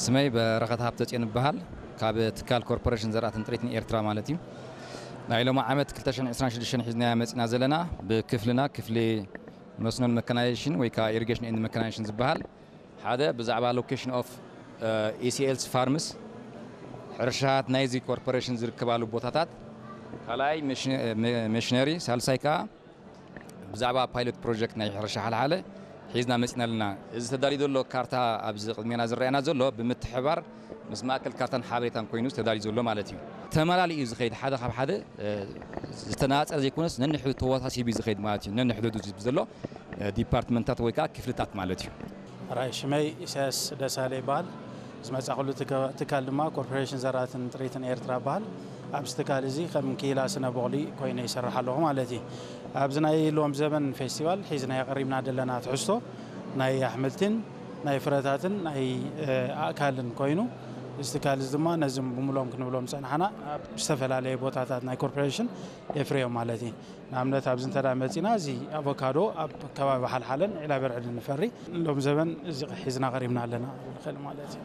ስመይ በረኸት ሃብተፅዮን ይበሃል። ካብ ትካል ኮርፖሬሽን ዘራእትን ጥሪትን ኤርትራ ማለት እዩ። ናይ ሎሚ ዓመት ክልተ ሽሕን ዕስራን ሽዱሽተን ሒዝናያ መፂና ዘለና ብክፍልና ክፍሊ መስኖን መካናይዜሽን ወይ ከዓ ኢሪጌሽን ኤንድ መካናይዜሽን ዝበሃል ሓደ ብዛዕባ location of ኢሲኤልስ ፋርምስ ሕርሻት ናይዚ ኮርፖሬሽን ዝርከባሉ ቦታታት ካልኣይ መሽነሪ ሳልሳይ ከዓ ብዛዕባ ፓይሎት ፕሮጀክት ናይ ሕርሻ ሓልሓለ ሒዝና መፂና ኣለና። እዚ ተዳልዩ ዘሎ ካርታ ኣብዚ ቅድሜና ዝረኣየና ዘሎ ብምትሕባር ምስ ማእከል ካርታን ሓበሬታን ኮይኑ ተዳልዩ ዘሎ ማለት እዩ። ተመላሊኡ እዩ ዝኸይድ ሓደ ካብ ሓደ ዝተናፀረ ዘይኮነስ ነንሕዱ ተወሳሲቡ እዩ ዝኸይድ ማለት እዩ። ነንሕዱ ዘሎ ዲፓርትመንታት ወይ ከዓ ክፍልታት ማለት እዩ። ራይ ሽመይ ኢሳያስ ደሳለ ይበሃል። ዝመፃ ኩሉ ትካል ድማ ኮርፖሬሽን ዘራትን ጥሪትን ኤርትራ ይበሃል። ኣብዚ ትካል እዚ ከም ክኢላ ስነ ቦቕሊ ኮይነ ይሰርሕ ኣለኹ ማለት እዩ። ኣብዚ ናይ ሎም ዘበን ፌስቲቫል ሒዝና የቐሪብና ዘለና ትሕዝቶ ናይ ኣሕምልትን ናይ ፍረታትን ናይ ኣእካልን ኮይኑ እዚ ትካል እዚ ድማ ነዚ ብምሎም ክንብሎም ፀናሓና ኣብ ዝተፈላለየ ቦታታት ናይ ኮርፖሬሽን የፍርዮም ማለት እዩ። ንኣብነት ኣብዚ እንተ መፂና እዚ ኣቮካዶ ኣብ ከባቢ ሓልሓለን ዒላበርዕድን ንፈሪ ሎም ዘበን እዚ ሒዝና ቀሪብና ኣለና ንኽእል ማለት እዩ።